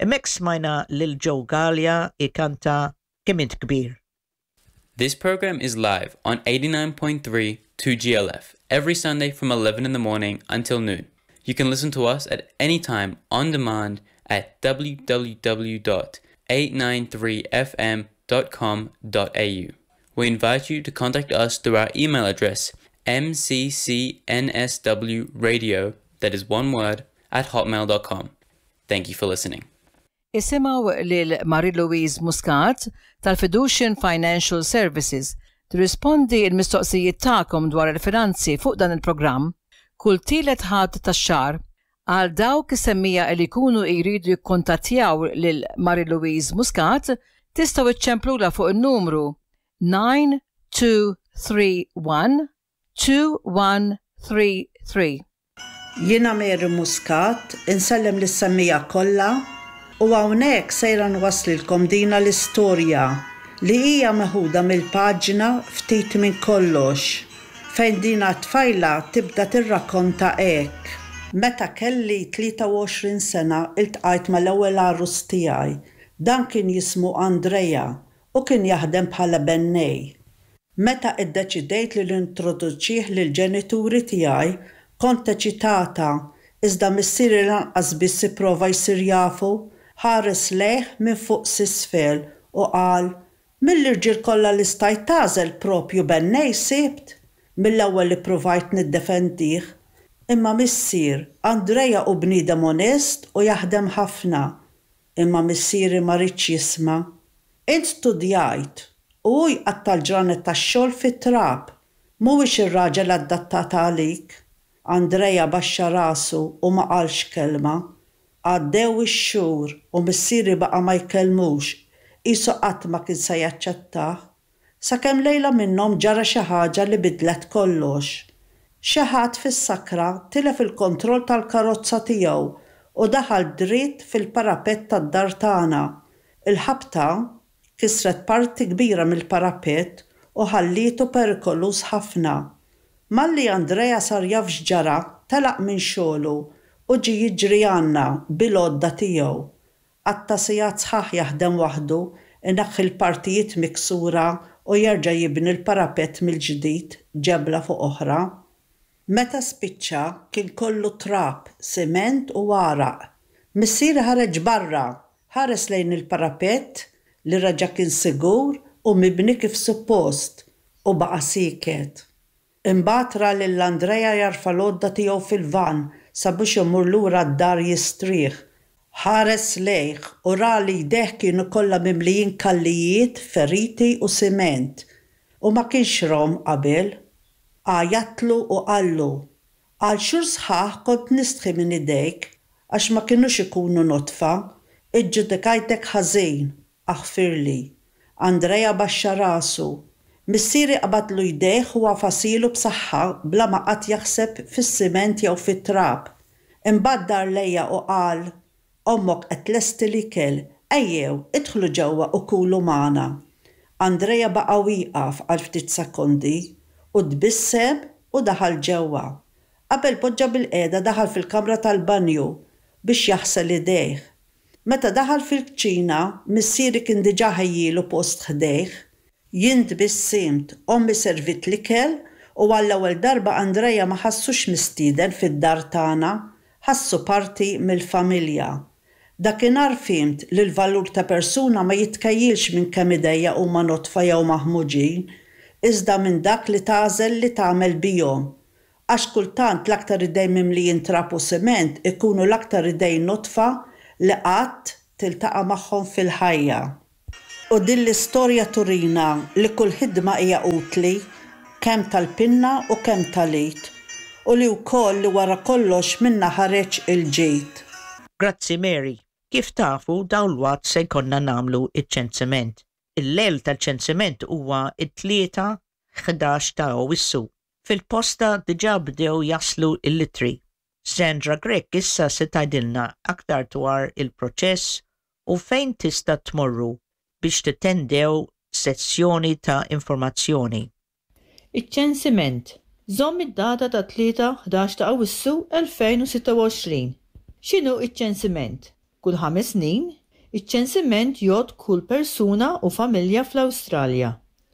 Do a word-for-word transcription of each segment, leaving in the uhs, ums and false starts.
Hemmhekk smajna lil Joe Galea ikanta Kemm Int Kbir. This program is live on eighty-nine point three two G L F every Sunday from eleven in the morning until noon. You can listen to us at any time on demand at w w w dot eight nine three f m dot com dot a u. We invite you to contact us through our email address m c c n s w radio, that is one word, at hotmail dot com. Thank you for listening. Isimgħu lil Marie-Louise Muscat tal-Fiducian Financial Services tirrispondi il-mistoqsijiet tagħkom dwar il-finanzi fuq dan il-programm kull tielet Ħadd tax-xahar. Għal dawk is-semmiegħa li jkunu jridu jikkontattjaw lil Marie-Louise Muscat, tistgħu iċċemplula fuq il-numru nine two three one two one three three. Jiena Mary Muscat, insellem lis-semmiegħa kollha u hawnhekk sejra nwasslilkom dina l-istorja li hija meħuda mill-paġna Ftit minn Kollox, fejn dina tfajla tibda tirrakkonta hekk. Meta kelli tlieta u għoxrin sena, iltqajt mal-ewwel għarus tiegħi. Dan kien jismu Andrea u kien jaħdem bħala bennej. Meta iddeċidejt li nintroduċih lill-ġenituri tiegħi, kont eċitata, iżda missieri lanqas biss ipprova jsir jafu. Ħares lejh minn fuq s'isfel u qal, "Mill-irġiel kollha li stajt tagħżel, propju bennej sibt?" Mill-ewwel ippruvajt niddefendih. "Imma missier, Andrea hu bniedem onest u jaħdem ħafna." Imma missieri ma riedx jisma'. "Int studjajt u hu jqatta' l-ġranet tax-xogħol fit-trab. Mhuwiex ir-raġel adattat għalik." Andrea baxxa rasu u ma qalx kelma. Għaddew ix-xhur u missieri baqa' ma jkellmux, qisu qatt ma kien se jaċċettah. Sakemm lejla minnhom ġara xi ħaġa li bidlet kollox. Xi ħadd fis-sakra tilef il-kontroll tal-karozza tiegħu u daħal dritt fil-parapett tad-dar tagħna. Il-ħabta kisret parti kbira mill-parapett u ħallietu perikoluż ħafna. Malli Andrea sar jaf x'ġara, telaq minn xogħlu u ġie jiġri għandna bil-għodda tiegħu. Qatta' sigħat sħaħ jaħdem waħdu, ineħħi l-partijiet miksura u jerġa' jibni l-parapett mill-ġdid, ġebla fuq oħra. Meta spiċċa kien kollu trab, siment u għaraq. Missieri ħareġ barra, ħares lejn il-parapett li reġa' kien sigur u mibni kif suppost, u baqa' sieket. Imbagħad ra lil Andrea jarfa' l-għodda tiegħu fil-van sabiex imur lura d-dar jistrieħ. Ħares lejh u ra li jdejh kienu kollha mimlijin kallijiet, feriti u siment. U ma kienx rahom qabel. Għajjatlu u qallu, "Għal xhur sħaħ kont nistħi minn idejk għax ma kinux ikunu nodfa, iġġudikajtek ħażin, aħfirli." Andrea baxxa rasu. Missieri qabadlu jdejh u għafashielu b'saħħa bla ma qatt jaħseb fis-siment jew fit-trab. Imbagħad dar lejja u qal, "Ommok qed tlesti l-ikel, ejjew, idħlu ġewwa u kulu magħna." Andrea baqa' wieqaf għal ftit sekondi u tbissem u daħal ġewwa. Qabel poġġa bilqiegħda, daħal fil-kamra tal-banju biex jaħsel idejh. Meta daħal fil-kċina, missieri kien diġà ħejjielu post ħdejh. Jien tbissimt, ommi servit l-ikel u għall-ewwel darba Andrea ma ħassux mistieden fid-dar tagħna, ħassu parti mill-familja. Dakinhar fhimt li l-valur ta' persuna ma jitkejjilx minn kemm idejha huma nodfa jew maħmuġin, iżda minn dak li tagħżel li tagħmel bihom. Għax kultant l-aktar idejn mimlijin trab u siment ikunu l-aktar idejn nodfa li qatt tiltaqa' magħhom fil-ħajja. U din l-istorja turina li kull ħidma hija utli, kemm tal-pinna u kemm tal-id, u li wkoll li wara kollox minna ħareġ il-ġid. Grazzi, Mary. Kif tafu, dalwaqt se jkollna nagħmlu iċ-ċensiment. Il-lejl tal-ċensiment huwa it-Tlieta ħdax ta' Awwissu. Fil-posta diġà bdew jaslu il-ittri. Sandra Grech issa se tgħidilna aktar dwar il-proċess u fejn tista' tmorru biex tattendew sessjoni ta' informazzjoni. Iċ-ċensiment. Żomm id-data ta' tlieta ħdax ta' Awwissu elfejn u sitta u għoxrin. X'inhu iċ-ċensiment? Kull ħames snin, iċ-ċensiment jgħodd kull persuna u familja fl-Awstralja.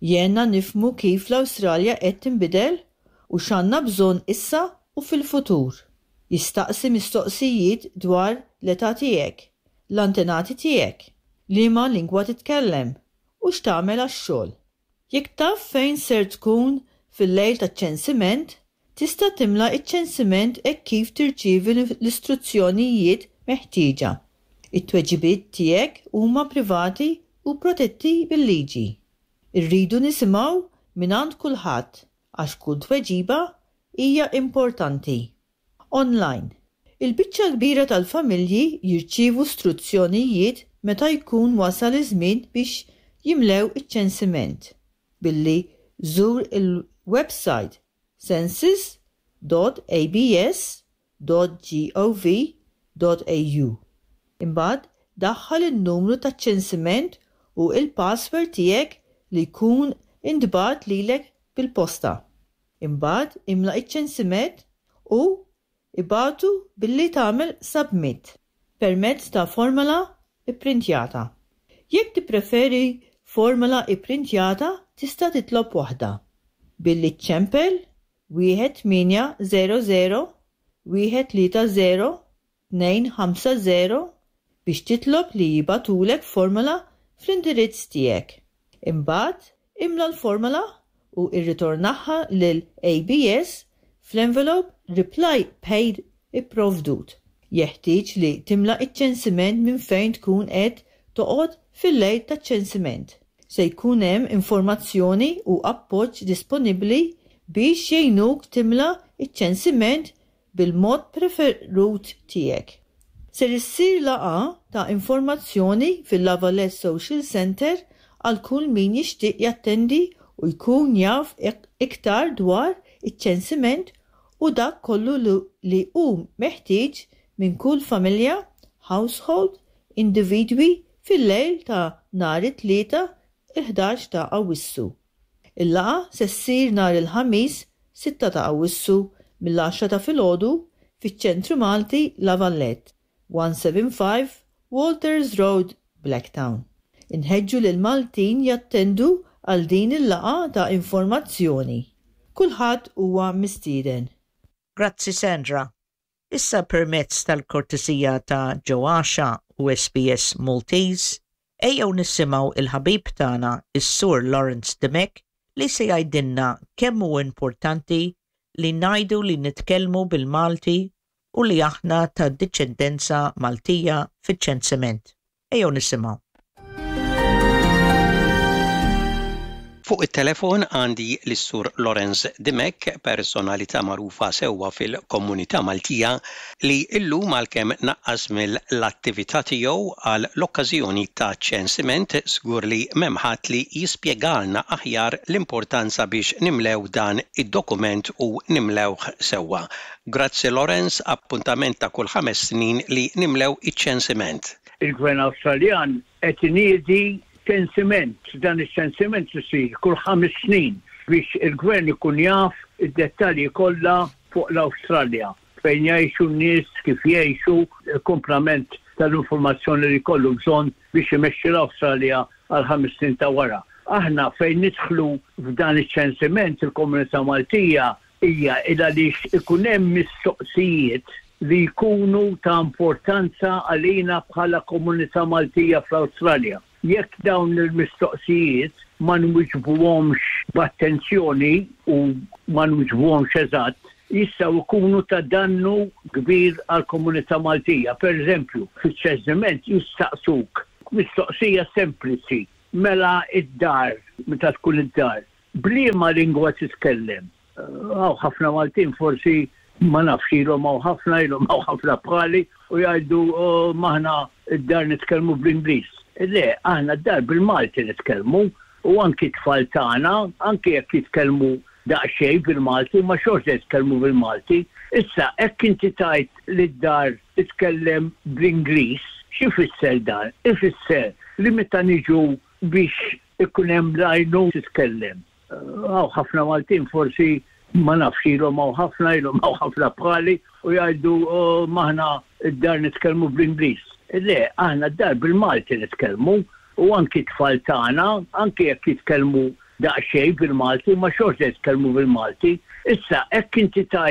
Jgħinna nifhmu kif l-Awstralja qed tinbidel u x'għandna bżonn issa u fil-futur. Jistaqsi mistoqsijiet dwar l-età tiegħek, l-antenati tiegħek, liema lingwa titkellem u x'tagħmel għax-xogħol. Jekk taf fejn ser tkun fil-lejl taċ-ċensiment, tista' timla iċ-ċensiment hekk kif tirċievi l-istruzzjonijiet meħtieġa. It-tweġibiet tiegħek huma privati u protetti bil-liġi. Irridu nisimgħu mingħand kulħadd għax kull tweġiba hija importanti. Online. Il-biċċa kbira tal-familji jirċievu struzzjonijiet meta jkun wasal iż-żmien biex jimlew iċ-ċensiment billi żur il-website census dot A B S dot gov dot A U. Imbagħad daħħal in-numru taċ-ċensiment u il-password tiegħek li jkun intbagħat lilek bil-posta. Imbagħad imla iċ-ċensiment u ibagħtu billi tagħmel submit permezz ta' formola ipprintjata. Jekk tippreferi formola ipprintjata, tista' titlob waħda billi ċċempel wieħed tmienja żero żero wieħed tlieta żero tnejn ħamsa żero biex titlob li jibagħtulek formola fl-indirizz tiegħek. Imbagħad imla l-formola u irritornaha lil A B S fl-envelope reply paid ipprovdut. Jeħtieġ li timla iċ-ċensiment minn fejn tkun qed toqgħod fil-lejl taċ-ċensiment. Se jkun hemm informazzjoni u appoġġ disponibbli biex jgħinuk timla iċ-ċensiment bil-mod preferut tiegħek. Ser issir laqgħa ta' informazzjoni fil-La Valette Social Center għal kull min jixtieq jattendi u jkun jaf iktar dwar iċ-ċensiment u dak kollu li hu meħtieġ minn kull familja, household, individwi fil-lejl ta' nhar it-Tlieta il-ħdax ta' Awwissu. Il-laqgħa se ssir nhar il-Ħamis sitta ta' Awwissu mill-għaxra ta' filgħodu fiċ-Ċentru Malti La Valette, one seven five Walters Road, Blacktown. Inħeġġu lil Maltin jattendu għal din il-laqgħa ta' informazzjoni. Kulħadd huwa mistieden. Grazzi, Sandra. Issa, permezz tal-kortesija ta' Joasha u S B S Maltese, ejjew nisimgħu il-ħabib tagħna is-Sur Lawrence Dimech li se jgħidilna kemm hu importanti li ngħidu li nitkellmu bil-Malti u li aħna ta' diċendenza Maltija fiċ-ċensiment. Ejjew nisimgħu. Fuq it-telefon għandi lis-Sur Lawrence Dimech, personalità magħrufa sewwa fil-komunità Maltija li illum, għalkemm naqqas mill-attività tiegħu għal l-okkażjoni ta' ċensiment, żgur li m'hemm ħadd li jispjegalna aħjar l-importanza biex nimlew dan id-dokument u nimlewh sewwa. Grazzi, Lawrence, appuntament ta' kull ħames snin li nimlew iċ-ċensiment. Il-Gvern Awstraljan qed iniedi ċensiment. Dan iċ-ċensiment isir kull ħames snin biex il-gvern ikun jaf id-dettalji kollha fuq l-Awstralja, fejn jgħixu n-nies, kif jgħixu, il-komplament tal-informazzjoni li kollu bżonn biex imexxi l-Awstralja għal ħames snin ta' wara. Aħna fejn nidħlu f'dan iċ-ċensiment, il-komunità Maltija, hija il għaliex ikun hemm mistoqsijiet li jkunu ta' importanza għalina bħala komunità Maltija fl-Awstralja. Jekk dawn il-mistoqsijiet ma nwiġbuhomx b'attenzjoni u ma nwiġbuhomx eżatt, jistgħu jkunu ta' dannu kbir għal komunità Maltija. Per eżempju, fiċ-ċensiment jistaqsuk mistoqsija sempliċi: mela id-dar, meta tkun id-dar, b'liema lingwa titkellem? Hawn ħafna Maltin, forsi ma nafx ilhom hawn ħafna, ilhom hawn ħafna bħali u jgħidu, "Oh, m'aħna id-dar nitkellmu bl-Ingliż." Le, aħna d-dar bil-Malti nitkellmu u anki tfal tagħna, anki jekk jitkellmu daqsxejn bil-Malti, ma xorta jitkellmu bil-Malti. Issa, hekk inti tgħid li d-dar titkellem bl-Ingliż, x'ifisser dan? Ifisser li meta niġu biex ikun hemm lajnu titkellem. Hawn ħafna Maltin, forsi ma nafx ilhom hawn ħafna, ilhom hawn ħafna bħali u jgħidu, "Oh, m'aħna id-dar nitkellmu bl-Ingliż." Le, aħna d-dar bil-Malti nitkellmu u anki tfal tagħna, anki jekk jitkellmu daqsxejn bil-Malti, ma xorta jitkellmu bil-Malti. Issa, hekk inti tajt